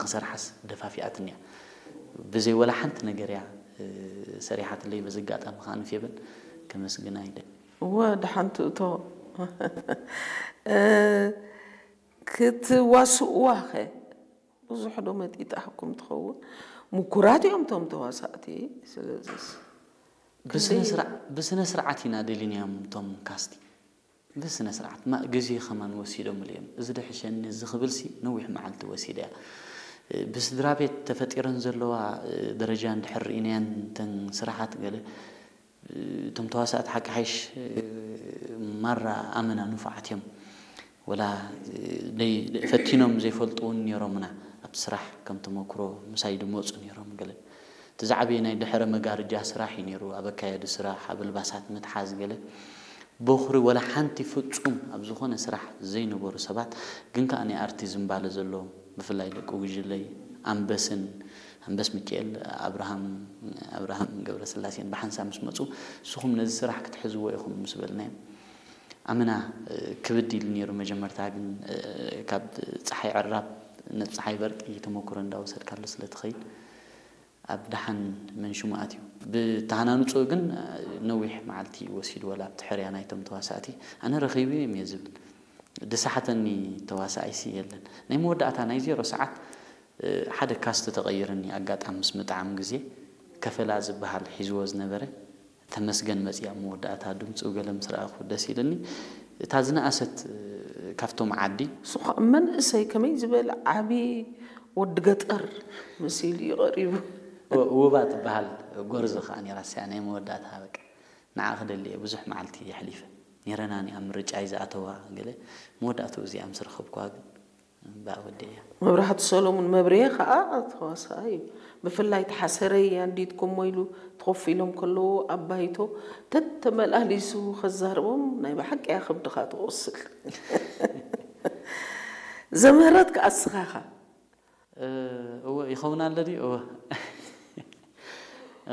ክሰርሓስ ደፋፊኣትኒ እያ። ብዘይ ወላ ሓንቲ ነገር እያ ሰሪሓትለይ። በዚ ኣጋጣሚ ከዓ ንፌበን ከመስግና ይደሊ። እወ፣ ደሓን ትእቶ። ክትዋስእዋ ኸ ብዙሕ ዶ መጢጣሕኩም ትኸውን? ምኩራት እዮም እቶም ተዋሳእቲ። ስለዚስ ብስነ ስርዓት ኢና ደሊናዮም እቶም ካስቲ። ብስነ ስርዓት ማ ግዜ ከማን ወሲዶምሉ እዮም። እዚ ድሕሸኒ እዚ ክብልሲ ነዊሕ መዓልቲ ወሲደ እያ። ብስድራ ቤት ተፈጢረን ዘለዋ ደረጃ እንድሕር ርኢናየን እተን ስራሓት ገለ እቶም ተዋሳእቲ ሓቂ ሓይሽ ማራ ኣመና ንፉዓት እዮም። ወላ ፈቲኖም ዘይፈልጡ እውን ነይሮምና ኣብቲ ስራሕ ከም ተመክሮ ምሳይ ድመፁ ነይሮም። ገለ እቲ ዝዓበየ ናይ ድሕረ መጋርጃ ስራሕ እዩ ነይሩ። ኣብ ኣካየዲ ስራሕ፣ ኣብ ኣልባሳት ምትሓዝ ገለ በኹሪ ወላ ሓንቲ ፍጹም ኣብ ዝኾነ ስራሕ ዘይነበሩ ሰባት ግን ከኣ ናይ ኣርቲ ዝንባለ ዘለዎም ብፍላይ ደቂ ጉጅለይ ኣንበስን ኣንበስ ሚካኤል ኣብርሃም ኣብርሃም ገብረስላሴን ብሓንሳብ ምስ መጹ ንስኹም ነዚ ስራሕ ክትሕዝዎ ኢኹም ምስ በልናዮም ኣመና ክብድ ኢሉ ነይሩ። መጀመርታ ግን ካብ ፀሓይ ዕራብ ናብ ፀሓይ በርቂ ተመክሮ እንዳወሰድካሉ ስለ ትኸይድ ኣብ ደሓን መን ሽሙ ኣትዩ ብተሃናንፅኡ ግን ነዊሕ መዓልቲ ወሲዱ ወላ ኣብቲ ሕርያ ናይቶም ተዋሳእቲ ኣነ ረኺበዮም እየ ዝብል ድሳሓተኒ ተዋሳኣይሲ የለን። ናይ መወዳእታ ናይ ዜሮ ሰዓት ሓደ ካስት ተቐይርኒ ኣጋጣሚ ምስ ምጥዓም ግዜ ከፈላ ዝበሃል ሒዝዎ ዝነበረ ተመስገን መፅያ መወዳእታ ድምፁ ገለ ምስ ረኣኹ ደስ ኢልኒ። እታ ዝነኣሰት ካብቶም ዓዲ እሱ ከዓ መንእሰይ ከመይ ዝበለ ዓቢ ወዲ ገጠር መሲሉ እዩ ቀሪቡ። ውባ ትበሃል ጎርዞ ከዓ ነይራ ስያ ናይ መወዳእታ በቃ ንዓ ክደሊ እየ ብዙሕ መዓልቲ የሕሊፈ ነይረና ኒኣ ምርጫይ ዝኣተዋ ገለ መወዳእትኡ እዚኣ ምስ ረኸብኩዋ ግን እምበኣ ወዲእያ። መብራህቱ ሰሎሙን መብርሄ ከዓ ተዋሳኣይ እዩ። ብፍላይ ተሓሰረይ ኣንዲትኩሞ ኢሉ ተኾፍ ኢሎም ከለዉ ኣብ ባይቶ ተተመላሊሱ ከዛርቦም ናይ ብሓቂ እያ ከብድኻ ትቆስል። ዘምህረት ከዓ እስኻ ኢኻ። እወ ይኸውን ኣሎ ድዩ? እወ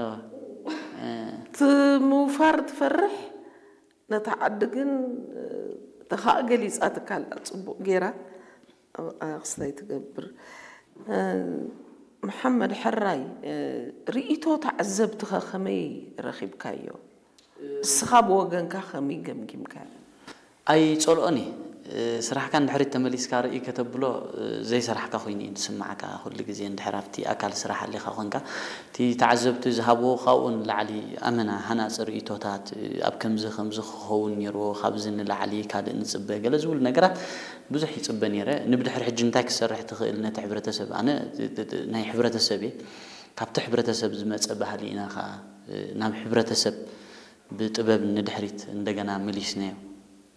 እወ እቲ ምውፋር ትፈርሕ ነታ ዓዲ ግን ተኻእ ገሊፃትካ ኣላ ፅቡቕ ገይራ ኣብኣ ክስታይ ትገብር መሓመድ ሕራይ ርእይቶ ተዓዘብትኸ ከመይ ረኺብካዮ እስኻ ብወገንካ ከመይ ገምጊምካዮ ኣይጸልኦን እየ ስራሕካ ንድሕሪት ተመሊስካ ርኢ ከተብሎ ዘይሰራሕካ ኮይኑ እዩ ዝስማዓካ ኩሉ ግዜ እንድሕር ኣብቲ ኣካል ስራሕ ኣሊኻ ኮንካ እቲ ተዓዘብቲ ዝሃብዎ ካብኡ ንላዕሊ ኣመና ሃናፂ ርእይቶታት ኣብ ከምዚ ከምዚ ክኸውን ነይርዎ ካብዚ ንላዕሊ ካልእ ንፅበ ገለ ዝብሉ ነገራት ብዙሕ ይፅበ ነይረ ንብድሕሪ ሕጂ እንታይ ክሰርሕ ትኽእል ነቲ ሕብረተሰብ ኣነ ናይ ሕብረተሰብ እየ ካብቲ ሕብረተሰብ ዝመፀ ባህሊ ኢና ከዓ ናብ ሕብረተሰብ ብጥበብ ንድሕሪት እንደገና መሊስናዮ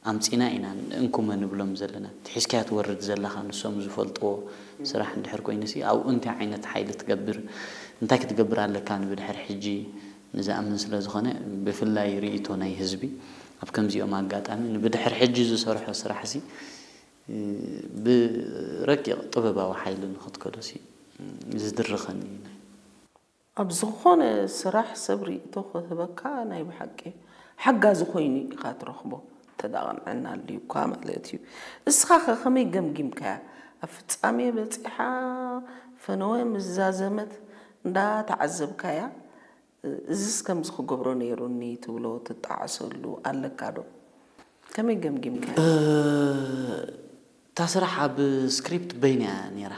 ኣምጺና ኢና እንኩመ ንብሎም ዘለና እቲ ሒዝካዮ ትወርድ ዘለኻ ንሶም ዝፈልጥዎ ስራሕ እንድሕር ኮይኑሲ ኣብኡ እንታይ ዓይነት ሓይሊ ትገብር እንታይ ክትገብር ኣለካ ንብድሕር ሕጂ ንዝኣምን ስለ ዝኾነ ብፍላይ ርእይቶ ናይ ህዝቢ ኣብ ከምዚኦም ኣጋጣሚ ንብድሕር ሕጂ ዝሰርሖ ስራሕሲ ብረቂቕ ጥበባዊ ሓይሊ ንኽትከዶሲ ዝድርኸኒ እዩ ናይ ኣብ ዝኾነ ስራሕ ሰብ ርእይቶ ክህበካ ናይ ብሓቂ ሓጋዚ ኮይኑ ኢኻ ትረኽቦ እንተ ደኣ ቅንዕና ኣልዩካ ማለት እዩ። እስኻ ኸ ከመይ ገምጊምካያ? ኣብ ፍጻሜ በጺሓ ፈነወ ምስ ዛዘመት እንዳ ተዓዘብካያ እዝስ ከምዚ ክገብሮ ነይሩኒ ትብሎ ትጠዓሰሉ ኣለካ ዶ? ከመይ ገምጊምካያ? እታ ስራሕ ኣብ ስክሪፕት በይና እያ ነይራ።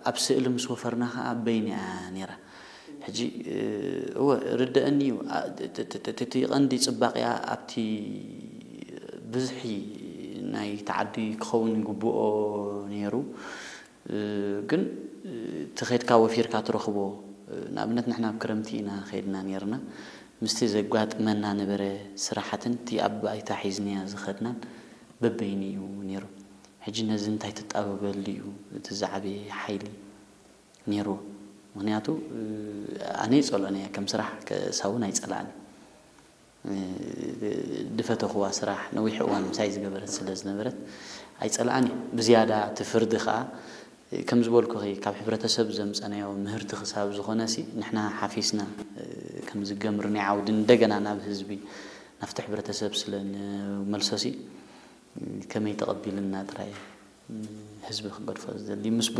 ኣብ ስእሊ ምስ ወፈርና ከዓ በይና እያ ነይራ። ሕጂ እወ ርደአኒ እዩ እቲ ቀንዲ ፅባቅያ ኣብቲ ብዝሒ ናይ ተዓዲ ክኸውን ይግብኦ ነይሩ ግን እቲ ኸድካ ወፊርካ ትረኽቦ ንኣብነት ንሕና ኣብ ክረምቲ ኢና ኸድና ነርና ምስቲ ዘጋጥመና ነበረ ስራሓትን እቲ ኣብ ባይታ ሒዝናዮ ዝኸድናን በበይኑ እዩ ነይሩ ሕጂ ነዚ እንታይ ትጣበበሉ እዩ እቲ ዝዓበየ ሓይሊ ነይርዎ ምክንያቱ ኣነ ይፀልኦን እየ ከም ስራሕ ከሳውን ኣይፀላእን ድፈተኽዋ ስራሕ ነዊሕ እዋን ምሳይ ዝገበረት ስለ ዝነበረት ኣይፀላኣን እየ ብዝያዳ እቲ ፍርዲ ከዓ ከም ዝበልኩኺ ካብ ሕብረተሰብ ዘምፀናዮ ምህርቲ ክሳብ ዝኾነሲ ንሕና ሓፊስና ከም ዝገምር ናይ ዓውዲ እንደገና ናብ ህዝቢ ናብቲ ሕብረተሰብ ስለ ንመልሶሲ ከመይ ተቐቢልና ጥራይ ህዝቢ ክገድፎ ዝደሊ ምስ